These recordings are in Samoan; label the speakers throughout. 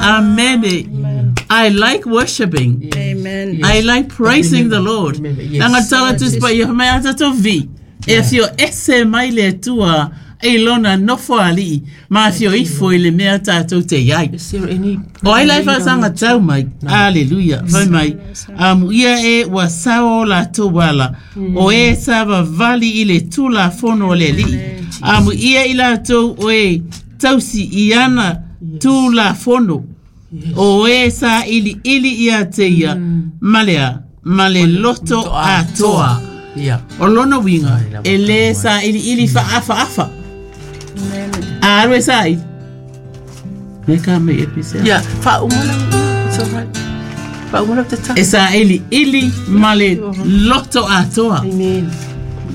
Speaker 1: Amene. I like worshiping.
Speaker 2: Amen.
Speaker 1: I like praising the Lord.
Speaker 3: Yes.
Speaker 1: Langa tala tu spa ia mai ata to vi. E afio ese mai le Atua i lona nofo ali'i ma afio ifo i le mea tātou te iai.
Speaker 3: Is there any
Speaker 1: O ai lai whaasanga tau mai. Aleluia. Fai mai. Amuia e ua sao o latou ala. O e savavali i le tulafono o le Alii. Amuia i latou o e tausi i ana tulafono. O e sailiili ia te ia ma le a? Ma le loto atoa.
Speaker 3: Yeah.
Speaker 1: O lona uiga, e lē sailiili faaafaafa. A alu e saili. Me ka mai e pise.
Speaker 3: Yeah, faauma lau yeah, it's all right. Faauma lau tatalo.
Speaker 1: E sailiili ma le loto atoa.
Speaker 3: Amen.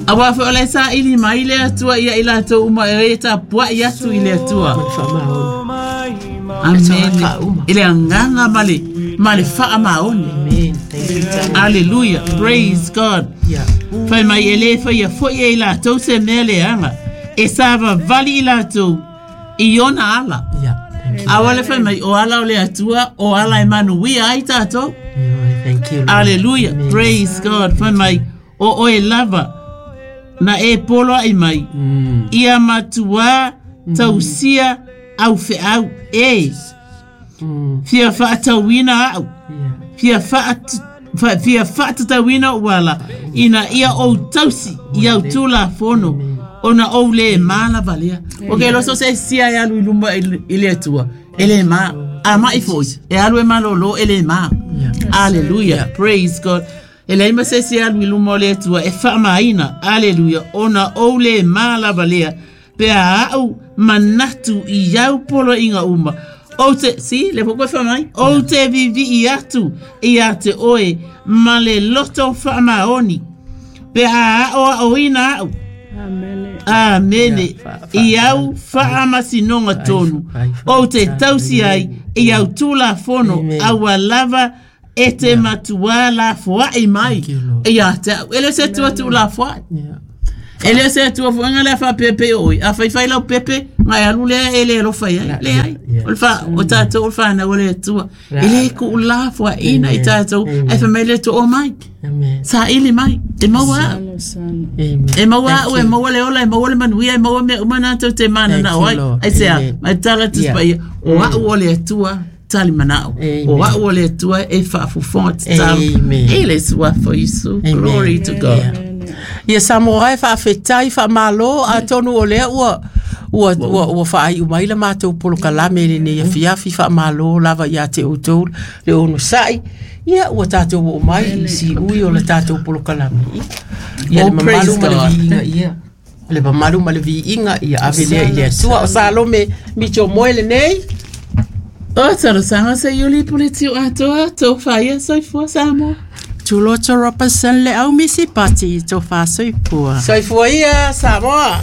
Speaker 1: Auā foi o la e saili mai le Atua ia i latou uma e tapuai atu i le Atua.
Speaker 3: Ma le faamaoni.
Speaker 1: Amene.
Speaker 3: Faauma.
Speaker 1: I le agaga ma le, ma le faamaoni.
Speaker 3: Amen. Thank you, Tama.
Speaker 1: Aleluia. Praise God.
Speaker 3: Yeah.
Speaker 1: Fai mai e lē faia foi e i latou se mea leaga e savavali i latou i ona ala.
Speaker 3: Yeah. Thank you.
Speaker 1: Aua le fai mai o ala o le Atua o ala e manuia ai tatou.
Speaker 3: Yeah, thank you. Lord.
Speaker 1: Aleluia.
Speaker 3: Amen.
Speaker 1: Praise God. Fai mai o oe lava na e poloai mai ia matuā tausia au feau e fia faatauina au
Speaker 3: Yeah.
Speaker 1: fia fa, fia faatatauina ou ala ina ia ou tausi i au tulafono ona ou lē malavalea. O ke loso se sia e alu i luma i i le Atua e lē ma a ma'i fo'i e alu e malōlō e lē ma. Aleluia. Praise God. E leai ma se isi e alu i luma o le Atua e faamaina. Aleluia. Ona ou lē malavalea pe a a'u manatu i au poloaiga uma. Ou te, see, lea foi koe fai mai, ou te vivii atu ia te oe ma le loto faamaoni pe a aoaoina a'u.
Speaker 2: Amene.
Speaker 1: Amene.
Speaker 3: Ia, fa-
Speaker 1: I au faamasinoga tonu. Ou te tausi ai i au tulafono
Speaker 3: Amen.
Speaker 1: aua lava e te matuā lafoai mai
Speaker 3: Thank you, Lord.
Speaker 1: ia te au. E le o se Atua tuulafoai.
Speaker 3: Yeah.
Speaker 1: E le o se Atua foi nga le faapepe o oe. A faifai lau pepe, nga e alu lea e le alofa i ai. Leai.
Speaker 3: Yeah.
Speaker 1: O le fa, o tatou o le fanau a le Atua. E le kuulafoaiina i tatou. Ae fai mai le Atua, omai.
Speaker 3: Amen.
Speaker 1: Saili mai. E maua au.
Speaker 2: Salo, salo.
Speaker 3: Amen.
Speaker 1: E maua
Speaker 3: Thank
Speaker 1: au, e
Speaker 3: you.
Speaker 1: maua le ola, e maua le manuia, e maua mea uma na tou te mananao
Speaker 3: Thank you,
Speaker 1: ai.
Speaker 3: Lord.
Speaker 1: Aisea,
Speaker 3: Amen.
Speaker 1: mai tala atu
Speaker 3: Yeah.
Speaker 1: paia, o au o le Atua talimanao.
Speaker 3: Amen.
Speaker 1: O au o le Atua e faafofoga tatalo.
Speaker 3: Amen.
Speaker 1: E le suafa o Iesu.
Speaker 3: Amen.
Speaker 1: Glory to God.
Speaker 3: Yeah. Ia Samoa e faafetai faamālō atonu o lea ua ua ua, ua faaiu mai la matou polokalame i lenei afiafi faamālō lava iā te outou le onosa'i ia ua tatou oo mai i siui o le tatou polokalame ia ia
Speaker 1: Oh,
Speaker 3: le mamalu
Speaker 1: praise
Speaker 3: ma le
Speaker 1: God.
Speaker 3: viiga ia le mamalu ma le viiga ia ave lea i le Atua o Salome Mitchell Moe lenei.
Speaker 1: O talosaga se iuli pule tiu atoa, tō whaia soifua Samoa.
Speaker 4: Tuloto Robertson le au misi pati to whasoipua.
Speaker 3: Soifua ia Samoa.